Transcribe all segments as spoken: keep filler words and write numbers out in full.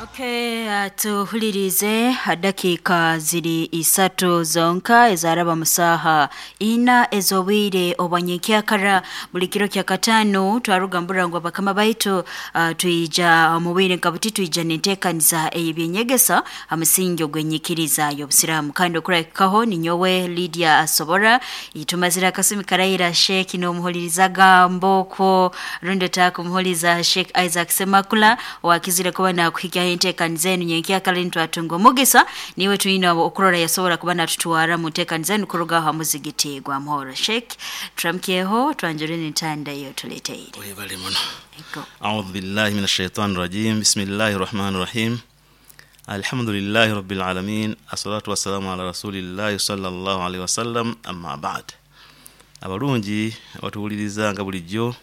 Okay, uh, tuhulirize dakika ziri isatu zonka ezaraba musaha ina ezobwire obwanyekyakara buli kiro kya katano twaruga mbura bakama baitu uh, tuija mubwire nkabuti tuija nentekaniza ey'ebyenyegesa amusingi ogwenyikiriza y'obusiramu kandi okurakaho ninyowe Lydia Asobora itumazira akasumi karaira Sheikh n'omuhulirizaga mboko rundi takumuhuliza Sheikh Isaac Semakula wakizire kuba nakuhikya entekaniza enu nyenkyakara nitwatunga omugisa niwe twina okurora yasobora kuba natutwara mu ntekaniza enu kuruga aha muzigiti gwa Muhoro. Sheikh turamkyeho twanjure n'entanda iyo tuleteire. Webale muno. A'udhu billahi minash shaitani rajim. Bismillahir rahmanir rahim. Alhamdulillahi rabbil alamin. Assalatu wassalamu ala rasulillahi sallallahu alaihi wasallam. Amma ba'd. Abalungi abatuwuliriza nga bulijjo,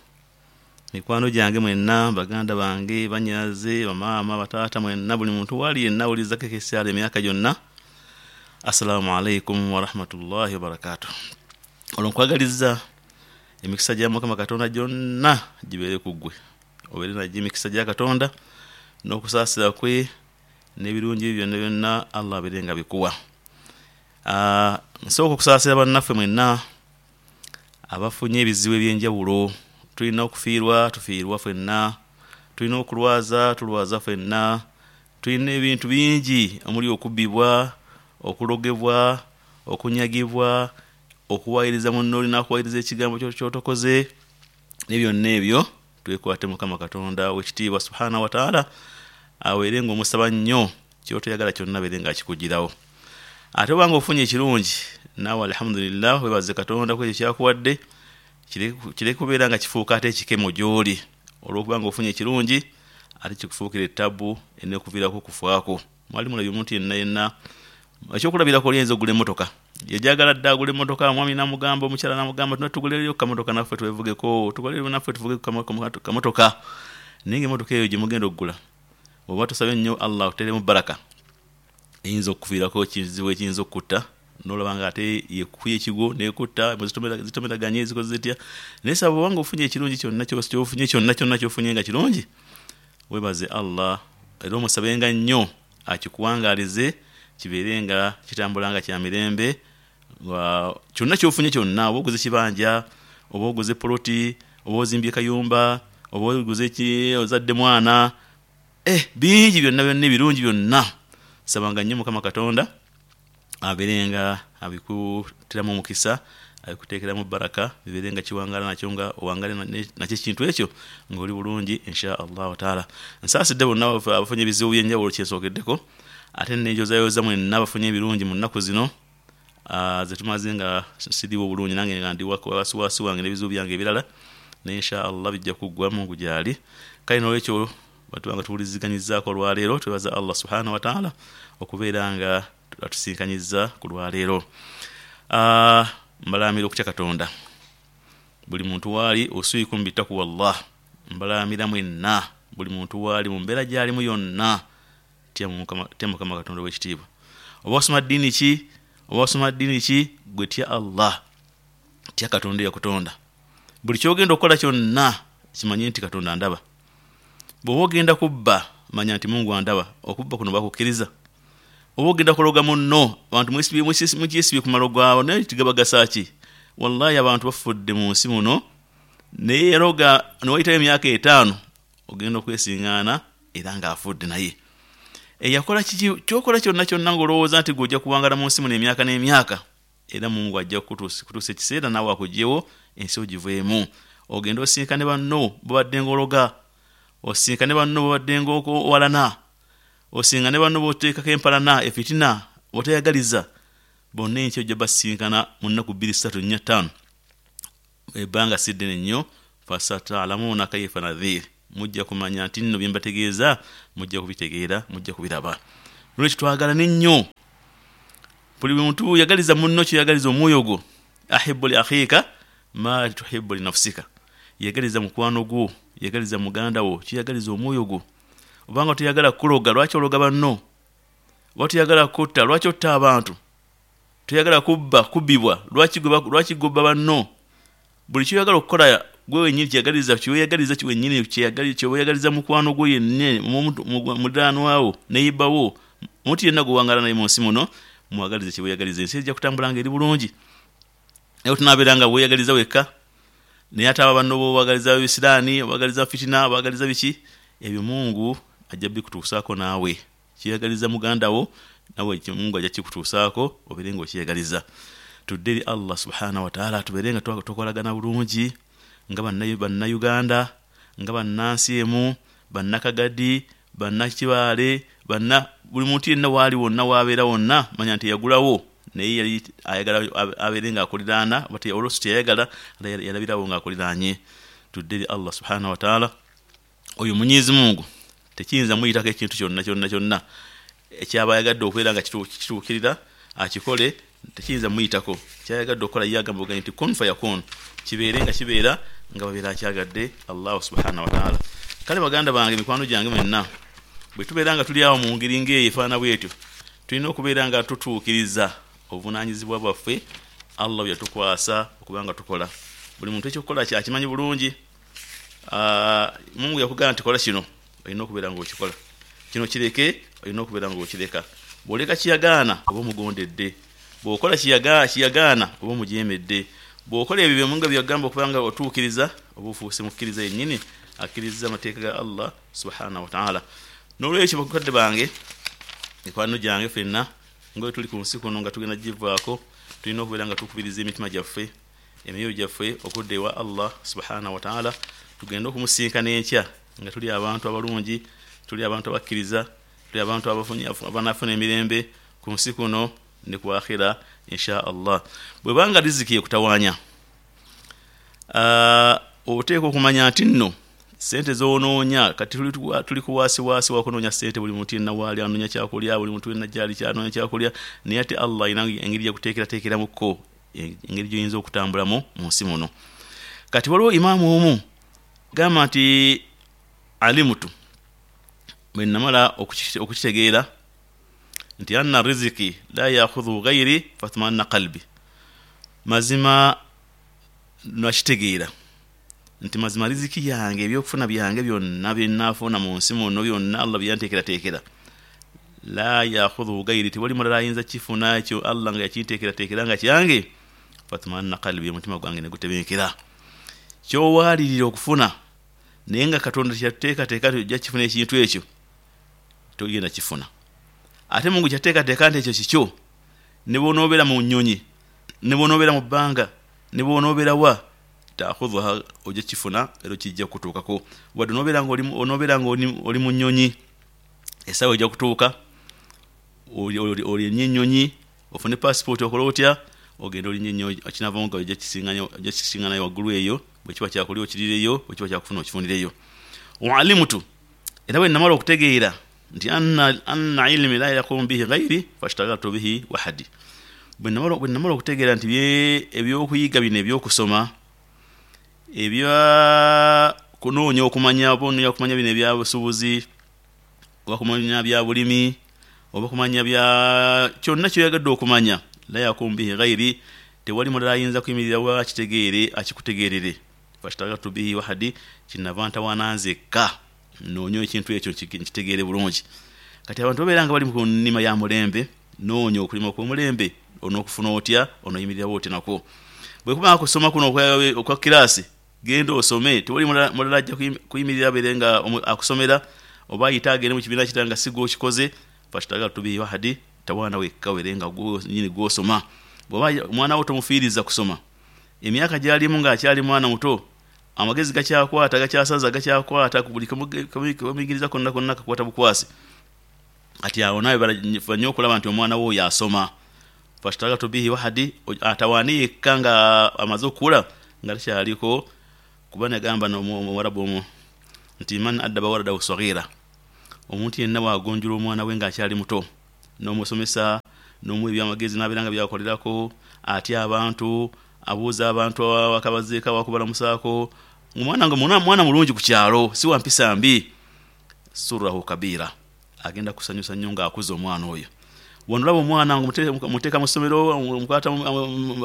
mikwano gyange mwenna, baganda bange, banyaze, bamaama, bataata mwenna, buli muntu wali yenna awuliriza K K S R emyaka gyonna, assalamu alaikum warahmatullahi wabarakatuh. Olwo nkwagaliza emikisa gya Mukama Katonda gyonna gibeere ku ggwe, obeere nagyo emikisa gya Katonda n'okusaasira kwe n'ebirungi ebyo byonna byonna Allah abeere nga bikuwa. Ah, nsooka okusaasira bannaffe mwenna abafunye ebizibu ebyenjawulo. Tulina okufiirwa, tufiirwa ffenna, tulina okulwaza, tulwaza ffenna, tulina ebintu bingi omuli okubbibwa, okulogebwa, okunyagibwa, okuwayiriza munno olina akuwayiriza ekigambo ky'otokoze, ne byonna ebyo twekwate Mukama Katonda ow'ekitiibwa subhanahu wa ta'ala, abeere ng'omusaba nnyo ky'otoyagala kyonna abeere ng'akikugirawo. Ate obanga ofunye ekirungi naawe alhamdulillah, weebaze Katonda ku ekyo kyakuwadde, kireke kubeera nga kifuuka ate ekikemo gy'oli olw'okuba nga ofunye ekirungi ate kikufuukira ettabu enekuviirako okufaako. Mwali mulabye omuntu yenna yenna ekyokulabirako oli ayinza okugula emmotoka, yajagala dda agula emmotoka, omwami n'amugamba, omukyala n'amugamba, tuna tuguleyo kamotoka naffe twevugeko, tuguleyo naffe tuvuge kamotoka. Naye ng'emmotoka eyo gye mugenda okugula oba tosabye nnyo Allah akuteeremu baraka, eyinza okukuviirako ekizibu ekiyinza okukutta n'olaba nga ate yekukuya ekigwo n'ekutta, zitomeraganye zikoze zitya. Naye saba obanga ofunye ekirungi kyonna ky'ofunye kyonna kyonna ky'ofunye nga kirungi, weebaze Allah era omusabenga nnyo akikuwangaalize kibeere nga kitambula nga kya mirembe. Kyonna ky'ofunye kyonna, oba oguze kibanja, oba oguze poloti, oba ozimbye kayumba, oba oguze ki, ozadde mwana, eh bingi byonna byonna ebirungi byonna, sabanga nnyo Mukama Katonda abeere nga abikuteramu omukisa, abikuteekeramu baraka, bibeere nga kiwangaala nakyo nga owangaale nakyo ekintu ekyo ng'oli bulungi insha Allahu taala. Nsaasidde bonna abafunye ebizibu by'enjawulo kyensookeddeko, ate nenjozayoza mwenna abafunye ebirungi mu nnaku zino ze tumaze nga siriiwo bulungi, nange nga ndi wasiwasi wange n'ebizibu byange ebirala, naye insha Allah bijja kuggwa Mungu gy'ali. Kale n'olwekyo batuba nga tuwuliziganyizaako olwaleero, twebaza Allah subhanahu wa ta'ala okubeera nga atusinkanyizza ku lwaleero. Mbalaamira okutya Katonda buli muntu waali, usiikum bitakuwa Allah, mbalaamira mwenna buli muntu waali mu mbeera gy'alimu yonna, tya Mukama Katonda ow'ekitiibwa. Oba osoma ddiini ki, oba osoma ddiini ki, gwe tya Allah, tya Katonda eyakutonda. Buli ky'ogenda okukola kyonna kimanye nti Katonda andaba. Bw'oba ogenda kubba, manya nti Mungu andaba, okubba kuno bakukkiriza. Oba ogenda kuloga munno, abantu mukyesibye ku malogo abo, naye tigabagasa ki? Wallahi abantu bafudde mu nsi muno, naye yaloga ne wayitayo emyaka etaano ogenda okwesiŋŋaana era ng'afudde naye. Eyakola kiki ky'okola kyonna kyonna ng'olowooza nti gwe ojja kuwangala mu nsi muno emyaka n'emyaka, era Mungu ajja kutuusa ekiseera naawe akuggyewo ensi ogiveemu. Ogende osinkane banno b'obadde ng'ologa, osinkane banno b'obadde ng'owalana, osinkane banno b'oteekako empalana, efitina, b'otayagaliza, bonna enkya ojja basinkana mu nnaku bbiri ssatu nnya ttaano, ebbanga si ddene nnyo. Fasatalamuuna kaifa nadhir, mujja kumanya nti nno bye mbategeeza mujja kubitegeera, mujja kubiraba. Nolwekyo twagalane nnyo, buli muntu yagaliza munno kyoyagaliza omwoyo gwo. Ahibu li akhika ma tuhibu li nafsika, yagaliza mukwano gwo, yagaliza muganda wo kyoyagaliza omwoyo gwo. Obanga toyagala kuloga, lwaki ologa banno? Oba toyagala kutta, lwaki otta abantu? Toyagala kubba, kubbibwa, lwaki gobba banno? Buli kyoyagala okukola Gwe wenyini kyeyagaliza, kyeyagaliza kiwenyini, kyeyagaliza mukwano gwo yennyini, muliraanwa wo, neighbor wo, omuntu yenna gw'owangala naye mu nsi muno, mwagalize kyeweyagaliza, ensi ejja kutambula nga eri bulungi. Naye tunabeera nga weeyagaliza wekka, naye ate abo banno b'obagaliza ebisiraani, obagaliza fitina, obagaliza biki, ebyo Mungu ajja bikutuusaako naawe. Kyeyagaliza muganda wo, nawe Mungu ajja kikutuusaako obeere ng'okyeyagaliza. Tudde eri Allah subhanahu wataala, tubeere nga tukolagana bulungi nga Bannayuganda, nga bannansi emu, bannakagadi, bannakibaale, banna buli muntu yenna waali wonna waabeera wonna, manya nti yagulawo naye yali ayagala abeere ng'akuliraana, oluusi teyayagala, yalabirawo ng'akuliraanye. Tudde eri Allah subhanahu wataala. Oyo Mwenyezi Mungu tekiyinza muyitako ekintu kyonna kyonna kyonna ekyaba ayagadde okubeera nga kituukirira akikole, tekiyinza muyitako. Kyayagadde okukola ye agamba obugambi nti kun fayakun, kibeere nga kibeera nga babeera akyagadde Allah subhanahu wataala. Kale baganda bange, mikwano gyange mwenna, bwe tubeera nga tuli awo mu ngeri ng'eyo efaanana bwetyo, tulina okubeera nga tutuukiriza obuvunaanyizibwa bwaffe Allah bwe yatukwasa okuba nga tukola. Buli muntu ekyokukola kyakimanyi bulungi. Mungu yakugamba nti kola kino, olina okubeera ng'okikola, kino kireke, olina okubeera ng'okireka. Bw'oleka kiyagaana oba omugondedde, bw'okola kiyagaana oba omujeemedde, bw'okola ebyo bye Mungu byagamba okuba nga otuukiriza, oba ofuuse mukkiriza yennyini akkiriza amateeka ga Allah subhanahu wataala. N'olwekyo bakadde bange, mikwano gyange, ffenna nga bwe tuli ku nsi kuno nga tugenda givaako, tulina okubeera nga tukubiriza emitima gyaffe, emyoyo gyaffe okudda ewa Allah subhanahu wataala, tugende okumusinkana enkya nga tuli abantu abalungi, tuli abantu abakkiriza, tuli abantu abanaafuna emirembe ku nsi kuno ne ku akhira insha Allah. Bwebanga riziki ekutawaanya, oteekwa okumanya nti nno sente z'onoonya kati tuli kuwaasiwaasi wakunoonya sente, buli muntu yenna waali anoonya kyakulya, buli muntu yenna gyali kyanoonya kyakulya, naye ate Allah alina engeri gyakuteekerateekeramukko engeri gy'oyinza okutambulamu mu nsi muno. Kati waliwo imaamu omu gamba nti alimutu, bwe namala okukitegeera nti anna riziki la yakhudhu ghairi fatmanna qalbi, mazima nakitegeera nti mazima riziki yange, ebyokufuna byange byonna byenaafuna mu nsi muno byonna Allah byanteekerateekera, la yakhudhu ghairi, tewali mulala ayinza kifuna ekyo Allah nga yakinteekerateekera nga kyange, fatmanna qalbi, omutima gwange ne gutebenkera. Kyowaalirira okufuna naye nga Katonda kyateekateeka nti ojja kifuna ekintu ekyo, togenda kifuna. Ate Mungu kyateekateeka nti ekyo kikyo, ne bw'onoobeera mu nnyonyi, ne bw'onoobeera mu bbanga, ne bw'onoobeera wa, taakhudhuha, ojja kifuna era kijja kutuukako. Wadde onoobeera ng'onobeera ng'oli mu nnyonyi, essaawa ejja kutuuka olinnye ennyonyi, ofune pasipooti okole otya, ogende olinnye ennyonyi, ekinavaamu nga ojja kisiŋŋanayo waggulu eyo, bwe kiba kyakulya okiriireyo, bwe kiba kyakufuna okifunireyo. Waalimutu, era bwe namala okutegeera nti anna ilmi la yaqumu bihi ghairi fashtagaltu bihi wahadi, bwe namala okutegeera nti ebyokuyiga bino ebyokusoma, ebya kunoonya okumanya, oba onoonya okumanya bino ebyabusuubuzi, oba kumanya bya bulimi, oba kumanya bya kyonna ky'oyagadde okumanya, la yaqumu bihi ghairi, tewali mulala ayinza kuyimirira wa akitegeere akikutegeerere, fashtagaltu bihi wahadi, kinava ntawaana nzekka noonye ekintu ekyo nkitegeere bulungi. Kati abantu babeera nga bali mu nnima ya mulembe, noonya okulima okw'omulembe, onookufuna otya, onooyimirirawo otya nakwo. Bwe kuba kusoma kuno okwa kiraasi, genda osome, tewali mulala ajja kuyimirira abeere nga akusomera, oba ayite agende mu kibiina kirala nga si gw'okikoze, fashtagaltu bihi wahadi, tawaana wekka obeere nga nyini gw'osoma. Bw'oba omwana wo tomufiiriza kusoma, emyaka gy'alimu ng'akyali mwana muto, amagezi gakyakwata, gakyasaza, gakyakwata, buli kamuyigiriza konna konna kakwata bukwasi. Kati awo naawe bafa nnyo okulaba nti omwana wo oyo asoma, fashtagaltu bihi wahadi, atawaane yekka nga amaze okukula nga takyaliko. Kuba nagamba omuwarabu omu nti man addaba waladahu saghira, omuntu yenna bw'agonjoola omwana we ng'akyali muto, n'omusomesa, n'omuwa ebyamagezi n'abeera nga byakolerako, atya abantu, abuuza abantu akabazeeko awakubalamusaako, omwana nga mwana mulungi ku kyalo, si wa mpisa mbi, surrahu kabira, agenda kusanyusa nnyo ng'akuza omwana oyo. Wano omwana muteeka mu ssomero, mukwata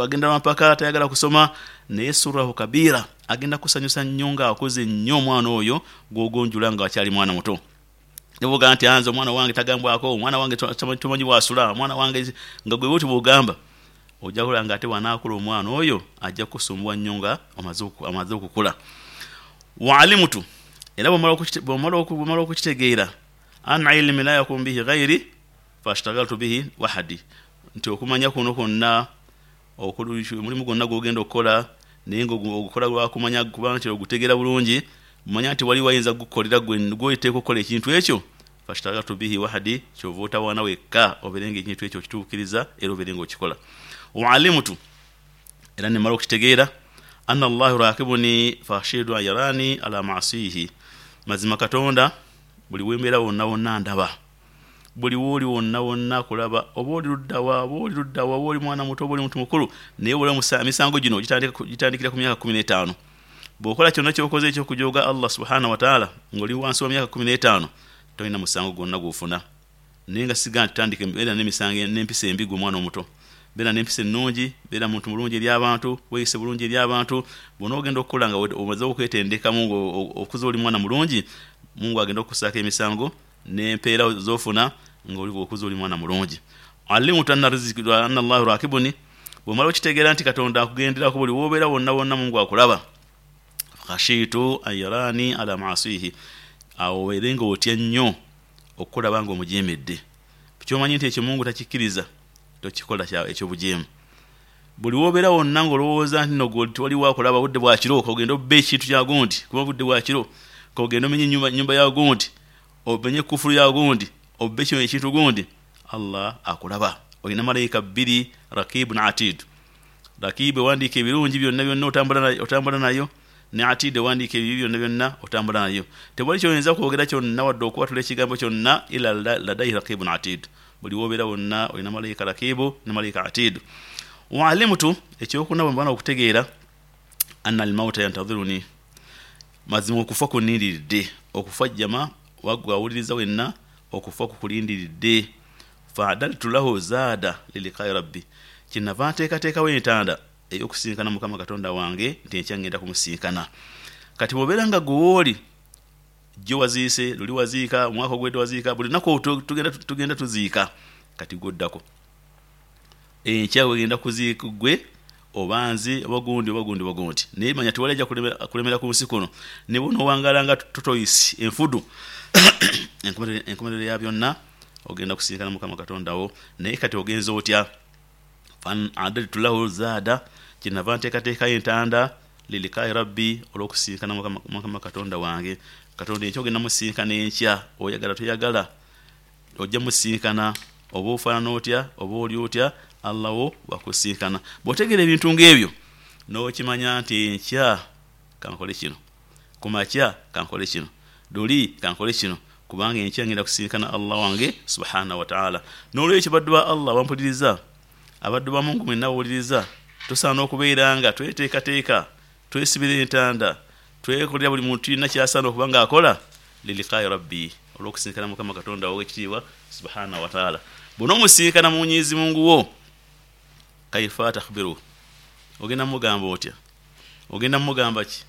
agenda mpaka tayagala kusoma, naye surahu kabira agenda kusanyusa nnyo ng'akoze nnyo omwana oyo gw'ogonjula nga akyali mwana muto. Nibuga nti anze omwana wange tagambwako, omwana wange tomanyi bw'asula, omwana wange nga gwe bw'otyo bw'ogamba, ojja kulaba nga ate bw'anaakula omwana oyo ajja kusumbuwa nnyo nga amaze okukula. Waalimutu, era bw'omala okukitegeera, an ilmi la yakun bihi ghairi fashtagaltu bihi wahadi, nti okumanya kuno kwonna omulimu gwonna gw'ogenda okukola naye ng'ogukola lwakumanya kubanga nti ogutegeera bulungi, manya nti wali wayinza kugukolera gwe gw'oteeka okukola ekintu ekyo, fashtagaltu bihi wahadi, kyova otawaana wekka obeere ng'ekintu ekyo okituukiriza era obeere ng'okikola. Waalimutu, era nemala okukitegeera, anna Allahu rakibuni fashidu ayarani ala maasihi, mazima Katonda buli wembeera wonna wonna ndaba, buli wooli wonna wonna kulaba, oba oli luddawa, oba oli luddawa, oba oli mwana muto, oba oli muntu mukulu, naye buli emisango gino gitandikira ku myaka kkumi n'etaano. Bw'okola kyonna ky'okoze eky'okujooga Allah subhanahu wa ta'ala ng'oli wansi wa myaka kkumi n'etaano, tolina musango gwonna gw'ofuna. Naye nga siga nti tandika beera n'emisango n'empisa embi gwe omwana omuto, beera n'empisa ennungi, beera muntu mulungi eri abantu, weeyise bulungi eri abantu. Bw'onoogenda okukola nga omaze okwetendekamu okuza oli mwana mulungi, Mungu agenda okukusaako emisango n'empeera z'ofuna ng'oli okuza oli mwana mulungi. Alimutu anna riziki anna Allahu rakibuni, bw'omala okitegeera nti Katonda akugenderako buli w'obeera wonna wonna Mungu akulaba, khashitu ayarani ala maasihi, awo obeere ng'otya nnyo okukulaba ng'omujeemedde. Kyomanyi nti ekyo Mungu takikkiriza, tokikola ekyobujeemu. Buli w'obeera wonna ng'olowooza nti no gwe tewaliwo akulaba, budde bwa kiro k'ogenda obbe ekintu kya gundi, kuba budde bwa kiro k'ogenda omenye ennyumba ya gundi, omenye kufulu ya gundi, obbe kino ekintu gundi, Allah akulaba. Olina malayika bbiri, rakibun atid. Rakibu ewandiika ebirungi byonna byonna otambula nayo, ne atid ewandiika ebibi byonna byonna otambula nayo. Tewali kyoyinza kwogera kyonna wadde okuwatula ekigambo kyonna ila ladaihi rakibun atid. Buli w'obeera wonna olina malayika rakibu ne malayika atid. Waalimutu, ekyokuna bwe mbaana okutegeera, anna almauta yantadhiruni, mazima okufa kunnindiridde. Okufa jjama waggwe awuliriza wenna, okufa kukulindiridde. Faadaltu lahu zaada liliqai rabbi, kyenava nteekateekawo entanda ey'okusinkana Mukama Katonda wange nti enkya ngenda kumusinkana. Kati bw'obeera nga gwe wooli jjo waziise, luli waziika, omwaka ogwedde waziika, buli lunaku tugenda tugenda tuziika, kati gwoddako enkya wegenda kuziika gwe oba nze oba gundi oba gundi oba gundi. Naye manya tewali ajja kulemera ku nsi kuno, ne bw'onoowangala nga totoyisi enfudu enkomerero ya byonna ogenda kusinkana Mukama Katonda wo. Naye kati ogenza otya? Fan adaltu lahu zaada, kyenava nteekateekayo entanda lilikai rabbi, olw'okusinkana Mukama Katonda wange. Katonda enkya ogenda musinkana enkya, oyagala toyagala ojja musinkana, oba ofaanana otya oba oli otya, Allah wo wakusinkana. Bw'otegeera ebintu ng'ebyo n'okimanya nti enkya kankole kino, ku makya kankole kino, luli kankole kino, kubanga enkya ngenda kusinkana Allah wange subhanahu wa ta'ala. N'olwekyo baddu ba Allah bampuliriza, abaddu ba Mungu mwenna bawuliriza, tusaana okubeera nga tweteekateeka, twesibira entanda, twekolera buli muntu yenna ky'asaana okuba ng'akola liliqai rabbi, olw'okusinkana Mukama Katonda ow'ekitiibwa subhanahu wa ta'ala. Bw'onoomusinkana Mwenyezi Mungu wo, kaifa takhbiru, ogenda mugamba otya? Ogenda mugamba ki?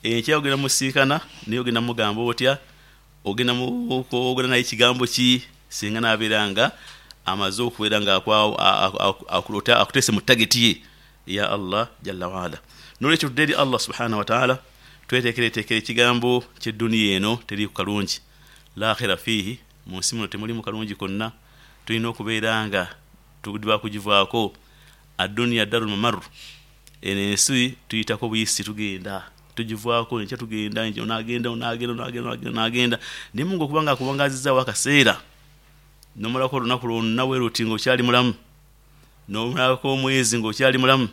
Enkya ogenda musinkana naye ogenda mugamba otya? Ogenda kwogera naye kigambo ki singa n'abeera nga amaze okubeera nga akuteese mu tageti ye ya Allah jalla waala. N'olwekyo tudde eri Allah subhanahu wa ta'ala, tweteekereteekere ekigambo ky'edduniya eno teriiku kalungi, la khira fiihi, mu nsi muno temulimu kalungi konna, tulina okubeera nga tudiba kugivaako. Adduniya darul mamaru, eno ensi tuyitako buyisi, tugenda tugivaako, enkya tugenda, onaagenda onaagenda onaagenda onaagenda. Naye Mungu okuba nga akuwangaazizaawo akaseera n'omalako olunaku lwonna bwe luti ng'okyali mulamu, n'omalako omwezi ng'okyali mulamu,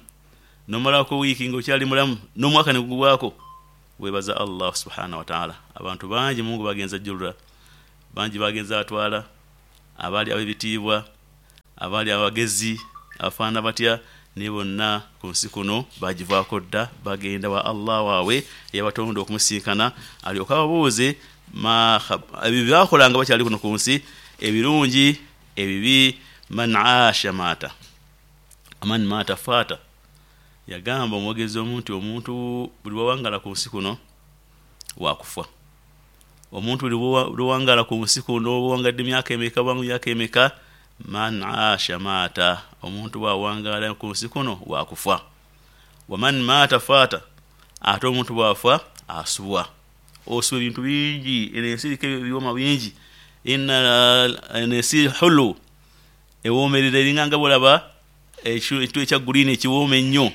n'omalako wiiki ng'okyali mulamu, n'omwaka ne gugwako, weebaza Allah subhanahu wa ta'ala. Abantu bangi Mungu bagenza ajjulula, bangi bagenza atwala, abaali ab'ebitiibwa, abaali abagezi, afaana batya, naye bonna ku nsi kuno bagivaako dda, bagenda wa Allah waabwe eyabatonda okumusinkana, alyoke ababuuze ebyo byakolanga bakyali kuno ku nsi, ebirungi Ebibi man aasha mata man mata fata. Yagamba omwogezi omuntu omuntu buli wawangala ku nsi kuno wakufa. Omuntu buli wawangala ku nsi kuno owangadde emyaka emeka bwangu emyaka emeka, man aasha mata, omuntu bwawangala ku nsi kuno wakufa. Waman mata fata, ate omuntu bwafa asubwa. Osubwa ebintu bingi, ensi eriko ebyoma bingi. Inna ensi hulu ewoomerera eringa nga bw'olaba ekintu ekya green ekiwooma ennyo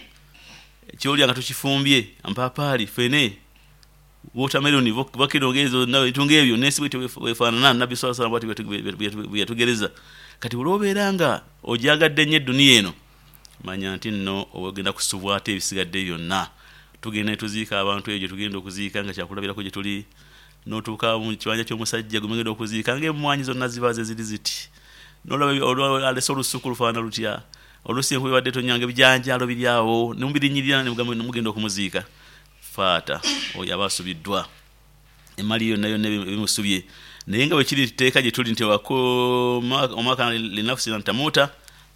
kyolya nga tukifumbye, ampaapaali, ffene, watermelon, vakedo ngezo ebintu ng'ebyo n'ensi bwetyo bwefaanana. Nabbi sallallahu alaihi wasallam bw'atyo bwe yatugereza. Kati olw'obeera nga ogyagadde nnyo edduniya eno, manya nti nno ogenda kusubwa ate ebisigadde byonna. Tugenda ne tuziika abantu eyo gye tugenda okuziika nga kyakulabirako gye tuli, n'otuuka mu kibanja ky'omusajja gwe mugenda okuziika ng'emmwanyi zonna ziba ze ziri ziti, n'olaba alese olusuku lufaanana lutya, oluusi enkuba ebadde tonnya ng'ebijanjaalo biri awo ne mubirinyirira ne mugenda okumuziika. Faata oyo aba asubiddwa, emmali yonna yonna ebimusubye. Naye nga bwe kiri tteeka gye tuli nti wama kana linafsin an tamuuta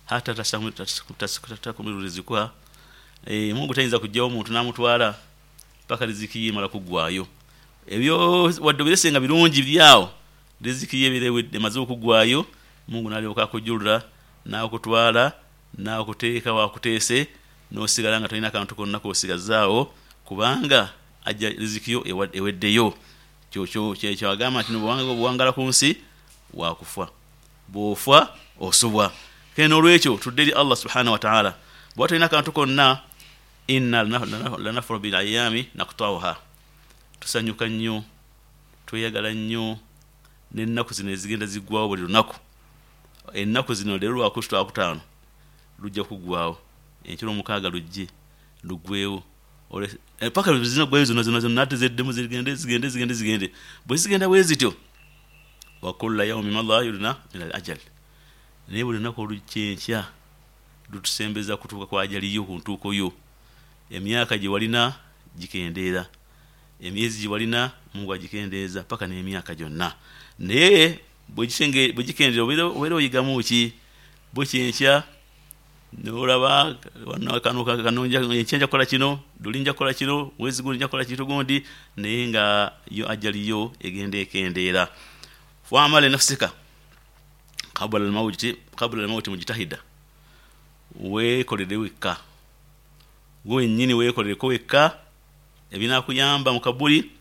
hatta tastakumilu rizikuha, Mungu tayinza kuggyawo omuntu n'amutwala paka riziki ye emala kuggwaayo. Ebyo wadde obirese nga birungi biri awo, riziki ye ebeera emaze okuggwaayo, Mungu n'alyoka akujjulula n'akutwala n'akuteeka wakuteese, n'osigala nga tolina kantu konna k'osigazaawo, kubanga ajja riziki yo eweddeyo. Kyagamba nti obuwangala ku nsi wakufa, bw'ofa osubwa. Kale n'olwekyo tudde eri Allah subhanahu wa ta'ala. Bw'oba tolina kantu konna, inna lanafuru bil ayami naqtauha, tusanyuka nnyo, tweyagala nnyo n'ennaku zino ezigenda ziggwawo buli lunaku. Ennaku zino leero lwakutaano lujja kuggwawo, enkiro omukaaga lujje luggwewo, paka zinaggwayo zonna zonna zonna, ate zeddemu zigende zigende zigende zigende. Bwe zigenda bwe zityo, wa kulla yawmin madha yudna min al ajal, naye buli lunaku olukyenkya lutusembeza kutuuka kwa ajali yo, ku ntuuko yo. Emyaka gye walina gikendeera, emyezi gye walina Mungu agikendeeza, paka n'emyaka gyonna. Naye bwe gikendeera obeera oyigamu ki? Bukyenkya n'olaba enkya nja kukola kino, luli nja kukola kino, mwezi gundi nja kukola kintu gundi, naye nga yo ajali yo egenda ekendeera. Wamala nafsika qabla almauti qabla almauti mujtahida, weekolere wekka, gwe wennyini weekolereko wekka ebinaakuyamba mu kabuli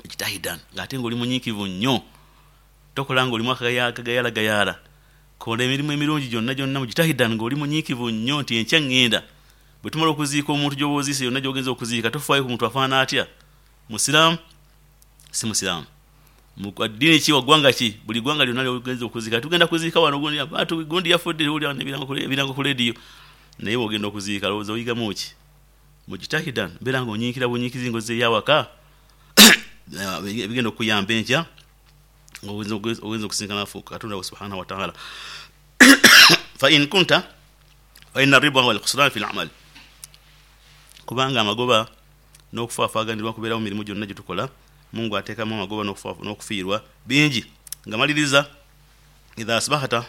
mujtahidan, ng'ate ng'oli munyiikivu nnyo, tokola ng'olimu akagayaalagayaala. Kola emirimu emirungi gyonna gyonna mujtahidan, ng'oli munyiikivu nnyo nti enkya ŋŋenda. Bwe tumala okuziika omuntu gy'oba oziise yonna gy'ogenza okuziika, tofaayo ku muntu afaanana atya, musiraamu si musiraamu, ddiini ki, wa ggwanga ki, buli ggwanga lyonna lyogenza okuziika. Tugenda kuziika wano gundi gundi yafudde, owulira ebirango ku leediyo, naye bw'ogenda okuziika lowooza oyigamu ki? Mujtahidan, beera ng'onyiikira bunyiikizi ng'ozzeeyo awaka ebigenda okukuyamba enkya ng'ogenza okusinkana Katonda wo subhanahu wa ta'ala. Fa in kunta fa inna riba wal khusran fi al-amal, kubanga amagoba n'okufaafaganirwa kubeerawo mu mirimu gyonna gye tukola. Mungu ateekamu amagoba n'okufiirwa bingi. Nga maliriza, idha asbahata,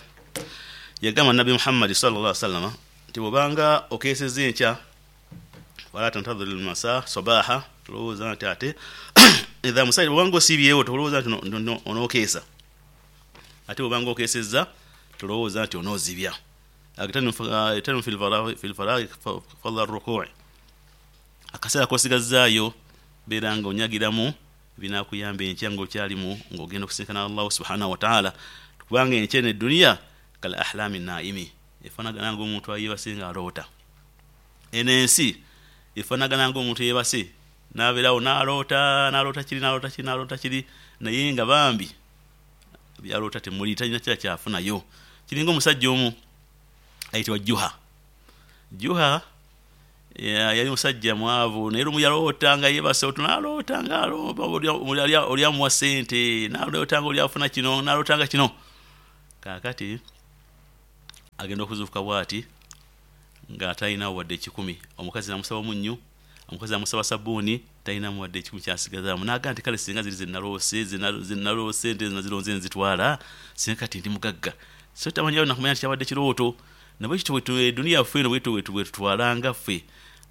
yagamba Nabbi Muhammadi sallallahu alaihi wasallam nti bw'obanga okeesezza enkya, wala tantadhir almasa sabaha, tolowooza nti ate idha musayi, bw'obanga osiibyewo tolowooza nti onookeesa, ate bw'obanga okeesezza tolowooza nti onoozibya. Agtanu fi lfaraghi fadla rukui, akaseera k'osigazzaayo beera nga onyagiramu binakuyamba enkya ng'okyalimu ng'ogenda okusinkana Allahu subhanahu wa ta'ala. Kubanga enkya eno edduniya kal ahlami naimi, efaanagana ng'omuntu ayeebase ng'aloota. Eno ensi efaanagana ng'omuntu yeebase n'abeerawo n'aloota n'aloota kiri n'aloota kiri n'aloota kiri, naye nga bambi byaloota temuli, talina kira kyafunayo. Kiringa omusajja omu ayitibwa Juha. Juha yali musajja mwavu, naye lumu yaloota nga yeebase otu n'aloota nga oli amuwa ssente, n'aloota nga oli afuna kino, n'aloota nga kino. Kaakati agenda okuzuukuka bw'ati nga talinawo wadde ekikumi. Omukazi n'amusaba omunnyu, omukazi amusaba sabbuuni, talinamu wadde ekikumi kyasigazaamu. N'agamba nti kale singa ziri zenaloose zenaloose nte nazironze nzitwala, singa kati ndi mugagga. So tamanyi nakumanya nti kyabadde kirooto. Nabwe kityo duniya yaffe eno bwetyo bwetutwalanga ffe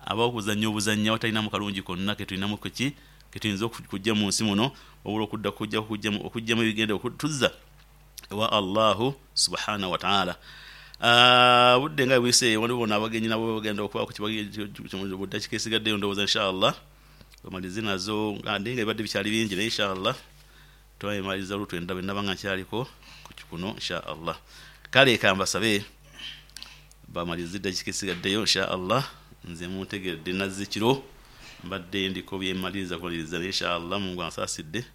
abakuzannya obuzannya abatalinamu kalungi konna ketulinamu ki ketuyinza okujja mu nsi muno, wabula okudda kujja okujjamu ebigenda okutuzza ewa Allahu subhanahu wa ta'ala. Budde nga buyise, waliwo n'abagenyi nabo bagenda okubaako buddakiika esigaddeyo ndowooza inshallah bamalize nazo, nga naye nga bibadde bikyali bingi, naye inshallah twabimaliza olutwenda bwe naba nga nkyaliko kuno inshallah. Kale kambasabe bamalize eddakiika esigaddeyo inshallah. Nze muntegedde nazze kiro mbadde ndiko byemaliriza kumaliriza, naye inshallah Mungu ansaasidde,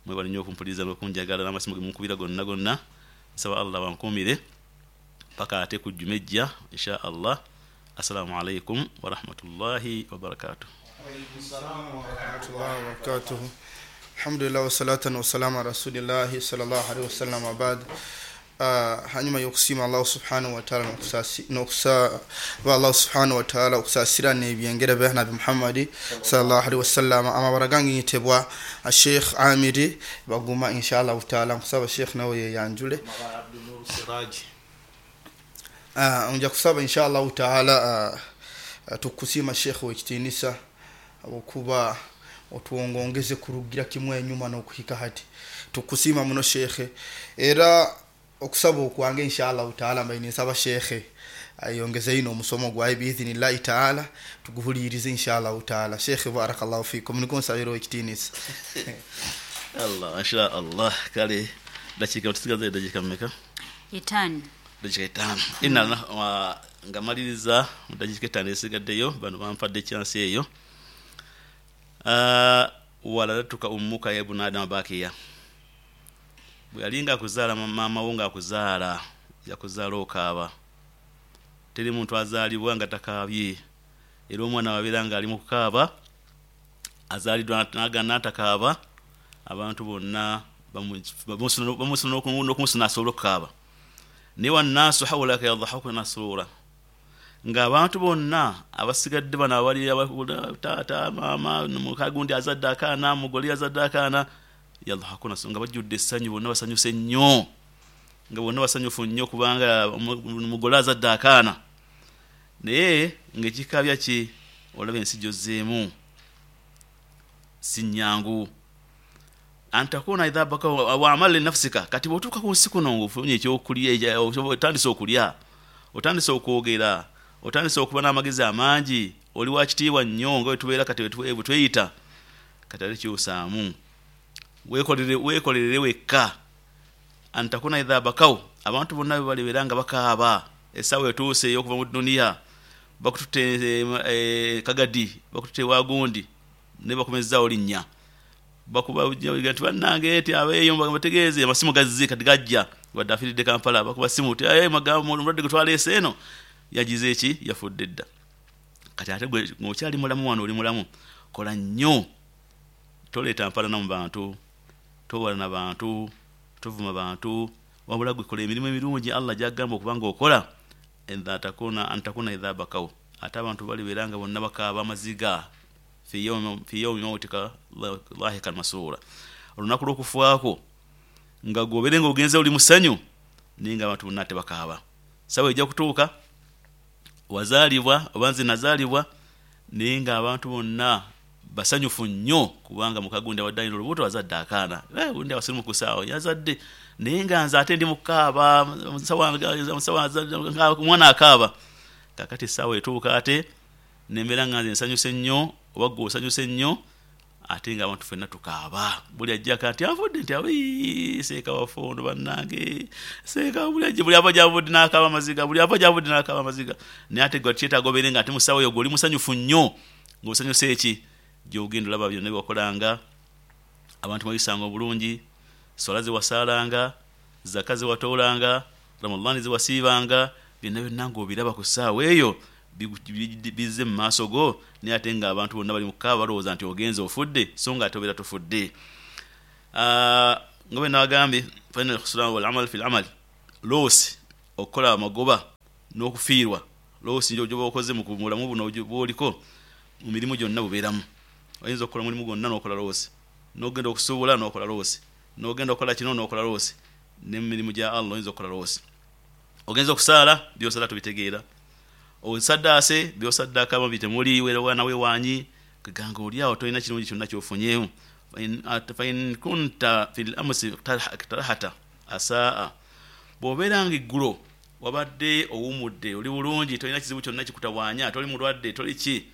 mwebale nnyo okumpuliriza n'okunjagala n'amasimu ge munkubira gonna gonna. Nsaba Allah bankuumire paka ate ku jjuma ejja inshallah. Assalamu alaikum warahmatullahi wabarakatuh. Warahmatullahi wabarakatuh. Alhamdulillah wassalatu wassalamu ala rasulillahi sallallahu alaihi wasallam wa ba'd. Uh, hanyuma y'okusiima Allah subhanahu wa ta'ala n'okusaba Allah subhanahu wa ta'ala okusaasira n'ebyengera bya Nabbi Muhammadi sallallahu alaihi wasallam. Amabara gange nyitebwa Sheikh Amiri Baguma inshallah ta'ala. Nkusaba Sheikh nawe yeyanjule. Uh, nja kusaba inshallah ta'ala uh, tukusiima Sheikh w'ekitiinisa okuba otuwongongeze kurugira kimwe enyuma n'okuhika hati. Tukusiima muno Sheikh, era okusaba okwange inshallah ta'ala mbaine nsaba Sheikh ayongeze ino omusomo gwaye biidhinillahi ta'ala tuguhulirize inshallah ta'ala. Sheikh barakallahu fikum, niko nsabira ekitiinisa. Allah insha Allah. Kale dakiika tusigaze dakiika mmeka? Etaano. Dakiika etaano. Ina nga maliriza mu dakiika etaano esigaddeyo, bano bampadde chance eyo. Waladatuka ummuka ya ibnu Adama bakiya, bwe yalinga akuzaala maama wo ng'akuzaala yakuzaala okaaba. Teri muntu azaalibwa nga takaabye, era omwana wabeera ng'ali mu kukaaba azaaliddwa n'agaana n'atakaaba, abantu bonna bamusuna n'okumusuna asobole okukaaba. Naye wannaasu hawlaka yadhahakuna surura, ng'abantu bonna abasigadde bano abali taata maama mukagundi azadde akaana mugoli azadde akaana, yadhahakuna nga bajjudde essanyu, bonna basanyuse nnyo, nga bonna basanyufu nnyo kubanga mugole azadde akaana. Naye ng'ekikaabya ki olaba ensi gy'ozzeemu si nnyangu. Antakuna idha baka wa amal li nafsika, kati bw'otuuka ku nsi kuno ng'ofunye ekyokulya, otandise okulya, otandise okwogera, otandise okuba n'amagezi amangi, oli wa kitiibwa nnyo nga bwe tubeera kati bwe tweyita, kati ate kyusaamu weekolere weekolerere wekka. Antakuna idha bakaw, abantu bonna bwe balibeera nga bakaaba, essaawa etuuse ey'okuva mu duniya, bakututte kagadi, bakututte wagundi, ne bakomezzaawo linnya, bakuba nti bannange ti abeeyo bategeeze amasimu gazze kati gajja, wadde afiiridde Kampala, bakuba simu ti omulwadde gwe twaleese eno yagize eki yafudde dda. Kati ate gwe ng'okyali mulamu wano oli mulamu, kola nnyo, toleeta mpalana mu bantu, towalana bantu, tovuma bantu, wabula gwe kola emirimu emirungi Allah gy'agamba okuba ng'okola. Antakuna antakuna idha bakaw, ate abantu balibeera nga bonna bakaaba amaziga fi yawmi mautika lahikan masura, olunaku lw'okufaako nga gw'obeere ng'ogenze oli musanyu, naye nga abantu bonna tebakaaba. Ssaawa ejja kutuuka wazaalibwa oba nze nazaalibwa, naye ng'abantu bonna basanyufu nnyo kubanga mukagundi abadde alina olubuto azadde akaana, gundi abasirimu ku ssaawa yazadde, naye nga nze ate ndi mu kukaaba, omwana akaaba. Kaakati essaawa etuuka ate nembeera nga nze nsanyuse nnyo oba ggwe osanyuse nnyo, ate ng'abantu ffenna tukaaba. Buli ajjako nti avudde nti abii seeka waffe ono bannange, seeka buli ajja buli ava gy'avudde n'akaaba amaziga, buli ava gy'avudde n'akaaba amaziga. Naye ate gwe kyetaaga obeere nga ate mu ssaawa eyo ggwe oli musanyufu nnyo, ng'osanyuse eki gy'ogenda olaba byonna bye wakolanga, abantu mweyisanga obulungi, swala ze wasaalanga, zaka ze watoolanga, Ramadhaani ze wasiibanga, byonna byonna ng'obiraba ku ssaawa eyo bizze mu maaso go, naye ate ng'abantu bonna bali mu kukaaba balowooza nti ogenze ofudde, so nga ate obeera tofudde. Nga bwe nabagambye, fa inna al-khusrana wal amal fil amal, loosi okukola amagoba n'okufiirwa, loosi gy'oba okoze mu bulamu buno bw'oliko mu mirimu gyonna bubeeramu. Oyinza okukola omulimu gwonna n'okola loosi, n'ogenda okusuubula n'okola loosi, n'ogenda okukola kino n'okola loosi, ne mu mirimu gya Allah oyinza okukola loosi. Ogenza okusaala byosala tubitegeera, osaddaase byosaddaaka bitemuli wewana wewanyi kaganga oli awo tolina kirungi kyonna kyofunyeemu. Fa in kunta fil amsi tarahata asaa, bw'obeera nga eggulo wabadde owumudde oli bulungi tolina kizibu kyonna kikutawaanya, toli mulwadde toli ki,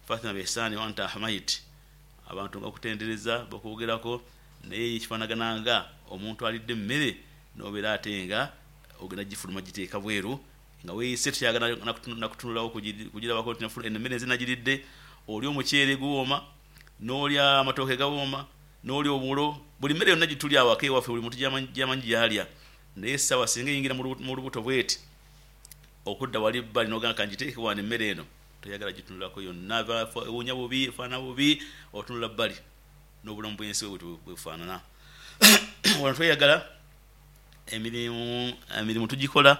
fathina biihsaani wa anta ahmayit, abantu nga bakutendereza bakwogerako, naye kifaanagana nga omuntu alidde emmere n'obeera ate nga ogenda gifuluma giteeka bweru nga weeyise tokyagala nakutunulawo kugirabako nti emmere nze nagiridde. Oli omuceere guwooma, n'olya amatooke gawooma, n'olya obulo, buli mmere yonna gitulya awaka ewaffe buli muntu gyamanyi gy'alya, naye essaawa singa eyingira mu lubuto bweti okudda wali bbali n'ogamba kangiteeke wano emmere eno, toyagala gitunulako yonna, ewunya bubi, efaanana bubi, otunula bbali. N'obulamu bw'ensi bwe bufaanana. Wano tweyagala emirimu, emirimu tugikola,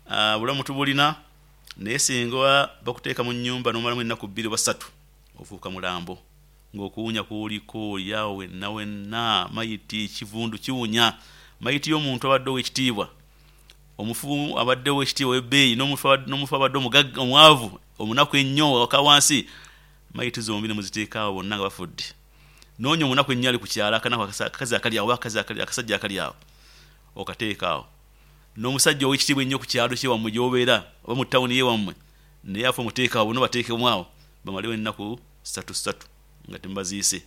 obulamu tubulina, naye singa bakuteeka mu nnyumba n'omalamu ennaku bbiri oba ssatu ofuuka mulambo, ng'okuwunya kuliko oli awo wenna wenna, mayiti kivundu kiwunya, mayiti y'omuntu abadde ow'ekitiibwa, omufu abadde ow'ekitiibwa ow'ebbeeyi, n'omufu abadde omugagga omwavu omunaku ennyo waka wansi, mayiti zombi ne muziteeka awo bonna nga bafudde. Noonya omunaku ennyo ali ku kyalo, akanaku akakazi akali awo oba akasajja akali awo okateeka awo, n'omusajja ow'ekitiibwa ennyo ku kyalo kyewammwe gy'obeera oba mu tawuni yewammwe, naye afe omuteeka awo, bonna bateekemu awo bamalewo ennaku ssatu ssatu nga temubaziise.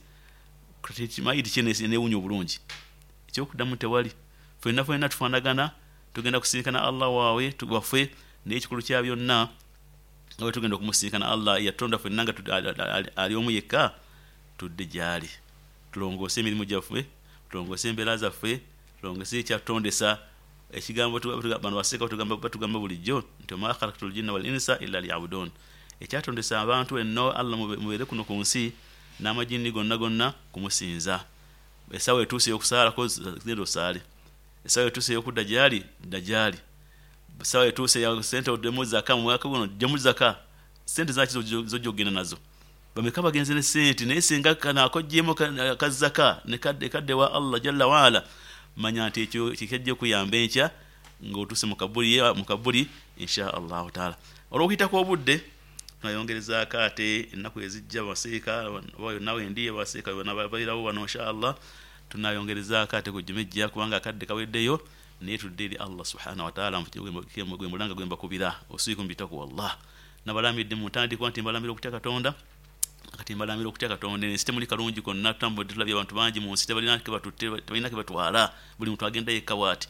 Mayiti ki eneewunya obulungi? Ekyokuddamu tewali. Ffenna ffenna tufaanagana, tugenda kusinkana Allah waawe waffe, naye ekikulu kya byonna nga bwe tugenda okumusinkana Allah yatutonda ffenna nga ali omu yekka, tudde gy'ali, tulongoose emirimu gyaffe, tulongoose embeera zaffe, tulongoose ekyatutondesa. Ekigambo bano baseeka batugamba bulijjo nti wama khalaqtul jinna wal insa illa liyabudun, ekyatondesa abantu enno Allah mubeere kuno ku nsi n'amajinni gonna gonna kumusinza. Essaawa etuuse ey'okusaalako genda osaale, essaawa etuuse ey'okudda gy'ali dda gy'ali, essaawa etuuse ya sente oddemu zaka mu mwaka guno ddemu zaka, sente zaki z'ojja okugenda nazo? Bameka bagenze ne sente, naye singa kano akoggyemu akazaka ne kadde wa Allah jalla waala, manya nti ekyo kikajja okuyamba enkya ng'otuuse mu kabuli mu kabuli insha Allahu taala. Olw'okuyitako obudde tunayongerezaako ate ennaku ezijja baseeka oba yonna wendi abaseeka babeerawo wano insha Allah, tunayongerezaako ate ku jjuma ejja kubanga akadde kaweddeyo, naye tudde eri Allah subhanahu wa taala gwe mulanga gwe mbakubira usiikum bitaqwallah. Nabalamidde mu ntandikwa nti mbalamira okutya Katonda, kati mbalamira okutya Katonda. Ensi temuli kalungi konna, tutambudde tulabye abantu bangi mu nsi tebalina ke batutte, tebalina ke batwala, buli muntu agenda yekka bw'ati.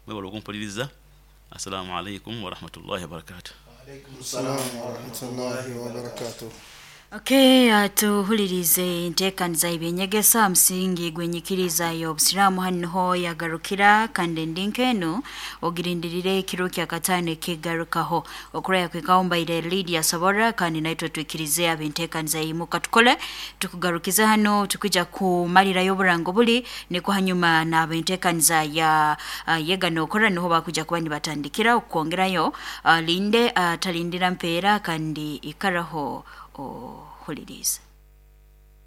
Mwebale okumpuliriza. Assalaamu alaikum warahmatullahi wabarakatuh. Alaikum salaam warahmatullahi wabarakatuh. Okay, tuhulirize enteekaniza y'ebyenyegesa musingi gwenyikiriza y'obusiraamu hano yagarukira kandi endinkeno ogirindirire ekiro kya kataano ekigarukaho okuraya kwekawumbaire Lydia Sobora kandi naitwe twikirize abenteekaniza yimuka tukole tukugarukiza hano tukija kumalirayo oburango buli niko hanyuma n'abenteekaniza ya uh, yega nokora niho bakuja kuba nibatandikira okwongerayo uh, linde uh, talindira mpeera kandi ikaraho ohuliriza.